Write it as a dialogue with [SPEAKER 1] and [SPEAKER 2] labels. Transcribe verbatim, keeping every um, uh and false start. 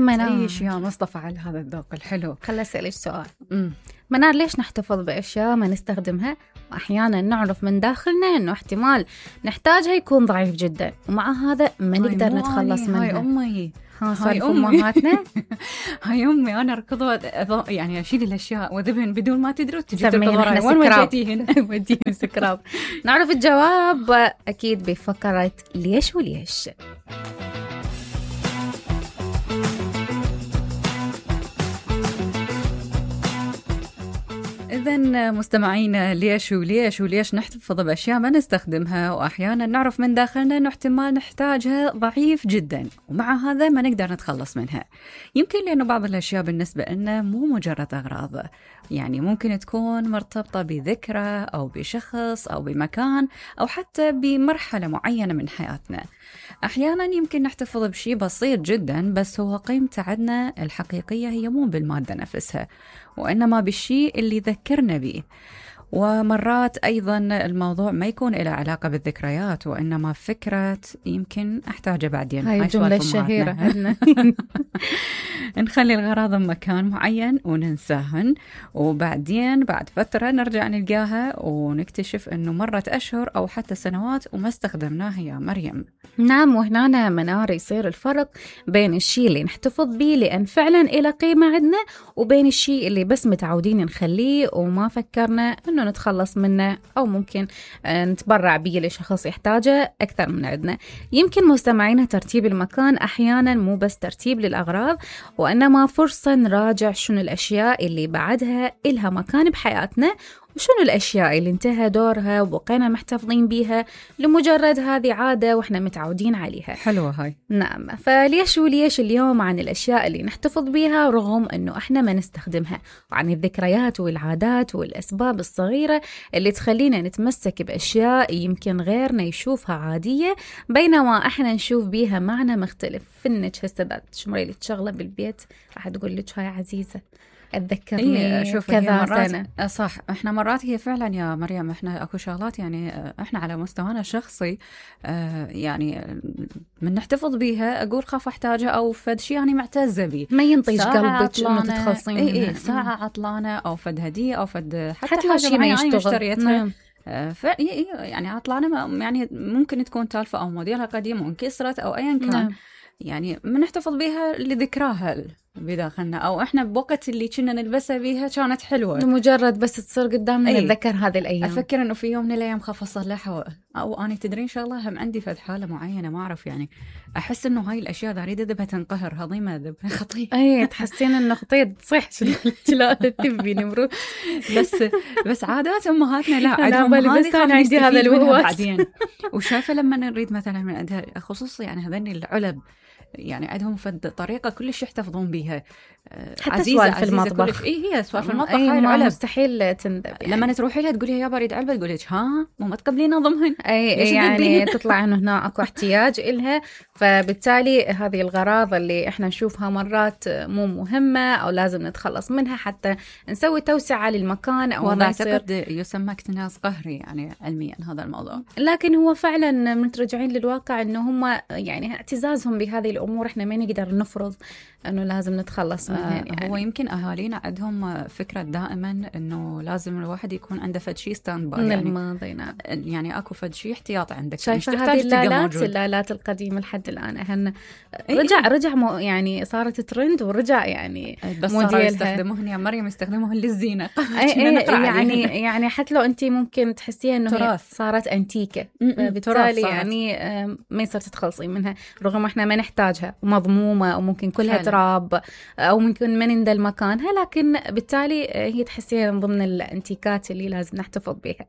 [SPEAKER 1] منار،
[SPEAKER 2] تعيش يا مصطفى على هذا الذوق الحلو.
[SPEAKER 1] خل أسألك سؤال.
[SPEAKER 2] مم.
[SPEAKER 1] منار، ليش نحتفظ بأشياء ما نستخدمها وأحيانا نعرف من داخلنا أنه احتمال نحتاجها يكون ضعيف جدا، ومع هذا ما نقدر نتخلص منها؟
[SPEAKER 2] هاي أمي،
[SPEAKER 1] هاي أمهاتنا.
[SPEAKER 2] هاي أمي، أنا ركضت يعني أشيل الأشياء وذبهن بدون ما تدري وتجي
[SPEAKER 1] تسمين
[SPEAKER 2] تركض
[SPEAKER 1] إحنا
[SPEAKER 2] وراي. وين
[SPEAKER 1] سكراب.
[SPEAKER 2] وديتيهن؟
[SPEAKER 1] وديهن سكراب. نعرف الجواب أكيد بفقرة ليش وليش.
[SPEAKER 2] إذن مستمعينا، ليش وليش وليش نحتفظ بأشياء ما نستخدمها وأحيانا نعرف من داخلنا أنه احتمال نحتاجها ضعيف جدا، ومع هذا ما نقدر نتخلص منها. يمكن لأنه بعض الأشياء بالنسبة لنا مو مجرد أغراض، يعني ممكن تكون مرتبطة بذكرى أو بشخص أو بمكان أو حتى بمرحلة معينة من حياتنا. أحيانا يمكن نحتفظ بشيء بسيط جدا، بس هو قيمته عندنا الحقيقية هي مو بالمادة نفسها، وإنما بالشيء اللي ذكرنا به. ومرات أيضا الموضوع ما يكون له علاقة بالذكريات، وإنما فكرة يمكن أحتاجه بعدين.
[SPEAKER 1] هاي الجملة الشهيرة عندنا.
[SPEAKER 2] نخلي الغراض بمكان معين وننساهن، وبعدين بعد فترة نرجع نلقاها ونكتشف أنه مرت أشهر أو حتى سنوات وما استخدمناها يا مريم.
[SPEAKER 1] نعم، وهنا منار يصير الفرق بين الشيء اللي نحتفظ به لأن فعلا إلى قيمة عندنا، وبين الشيء اللي بس متعودين نخليه وما فكرنا أنه نتخلص منه أو ممكن نتبرع به لشخص يحتاجه أكثر من عندنا. يمكن مستمعينا ترتيب المكان أحيانا مو بس ترتيب للأغراض، وإنما فرصة نراجع شنو الأشياء اللي بعدها إلها مكان بحياتنا، وشنو الأشياء اللي انتهى دورها وبقينا محتفظين بيها لمجرد هذه عادة وإحنا متعودين عليها.
[SPEAKER 2] حلوة هاي.
[SPEAKER 1] نعم، فليش وليش اليوم عن الأشياء اللي نحتفظ بيها رغم أنه إحنا ما نستخدمها، وعن الذكريات والعادات والأسباب الصغيرة اللي تخلينا نتمسك بأشياء يمكن غيرنا يشوفها عادية بينما إحنا نشوف بيها معنى مختلف. فنك هسه ذات شمريلة شغلة بالبيت راح تقول لك هاي عزيزة أتذكرني
[SPEAKER 2] إيه
[SPEAKER 1] كذا سنة.
[SPEAKER 2] صح، إحنا مرات هي فعلا يا مريم، إحنا أكو شغلات يعني إحنا على مستوانا الشخصي آه يعني من نحتفظ بيها أقول خاف أحتاجها أو فد شيء يعني معتزة بيه،
[SPEAKER 1] ما ينطيش قلبك إنه تتخلصين
[SPEAKER 2] إيه
[SPEAKER 1] منها.
[SPEAKER 2] إيه ساعة عطلانة أو فد هدية أو فد حتى,
[SPEAKER 1] حتى
[SPEAKER 2] حاجة
[SPEAKER 1] شيء ما يشتغل.
[SPEAKER 2] نعم. ف يعني عطلانة يعني ممكن تكون تالفة أو موديلها قديم وانكسرت أو أيا كان. نعم. يعني بنحتفظ بيها لذكراها بداخلنا، أو إحنا بوقت اللي كنا نلبسها بيها كانت حلوة،
[SPEAKER 1] مجرد بس تصير قدامنا
[SPEAKER 2] أيه.
[SPEAKER 1] نتذكر هذه الأيام.
[SPEAKER 2] أفكر إنه في يوم من الأيام خاف أصلحها، أو أنا تدرين إن شاء الله هم عندي فد حالة معينة ما أعرف، يعني أحس إنه هاي الأشياء ذاريدة ذبها تنقهر هضيمة ذب خطير.
[SPEAKER 1] أي تحسين إنه خطير تصيح لا تبي نمرو.
[SPEAKER 2] بس بس عادات أمهاتنا لا
[SPEAKER 1] عندهم هذه، بس أنا عندي هذا الوقت
[SPEAKER 2] بعدين. وشايفة لما نريد مثلا من عندها خصوصي يعني هذني العلب، يعني عندهم فد طريقة كلش يحتفظون بيها،
[SPEAKER 1] حتى سوالف في المطبخ.
[SPEAKER 2] إيه هي سوالف في المطبخ
[SPEAKER 1] أي
[SPEAKER 2] هاي العلب
[SPEAKER 1] مستحيل تندب يعني.
[SPEAKER 2] لما تروحي لها تقولي يا بريد علبة تقولي ها مو ما تقبلين نظمهن.
[SPEAKER 1] أي يعني تطلع إنه هنا أكو احتياج إلها، فبالتالي هذه الغراض اللي إحنا نشوفها مرات مو مهمة أو لازم نتخلص منها حتى نسوي توسعة للمكان أو
[SPEAKER 2] ما يصير يسمى اكتناز قهري يعني علميا هذا الموضوع.
[SPEAKER 1] لكن هو فعلا مترجعين للواقع إنه هم يعني اعتزازهم بهذه الأمور إحنا ما نقدر نفرض إنه لازم نتخلص منها. يعني
[SPEAKER 2] هو يمكن أهالينا عندهم فكرة دائما إنه لازم الواحد يكون عنده فد شيء ستاند باي، يعني
[SPEAKER 1] الماضي. نعم.
[SPEAKER 2] يعني أكو فد شيء احتياط عندك.
[SPEAKER 1] شايفة هذه اللالات اللالات القديمة لحد الآن أهن رجع رجع مو يعني صارت ترند ورجع يعني
[SPEAKER 2] بس صاروا يستخدموهن يا مريم يستخدموهن للزينة.
[SPEAKER 1] يعني يعني حتى لو أنت ممكن تحسيها إنه صارت أنتيكة، بالتالي يعني ما يصير تتخلصين منها رغم إحنا ما نحتاجها ومضمومة وممكن كلها تراب أو ممكن ما نندل مكانها، لكن بالتالي هي تحسيها من ضمن الانتيكات اللي لازم نحتفظ بها.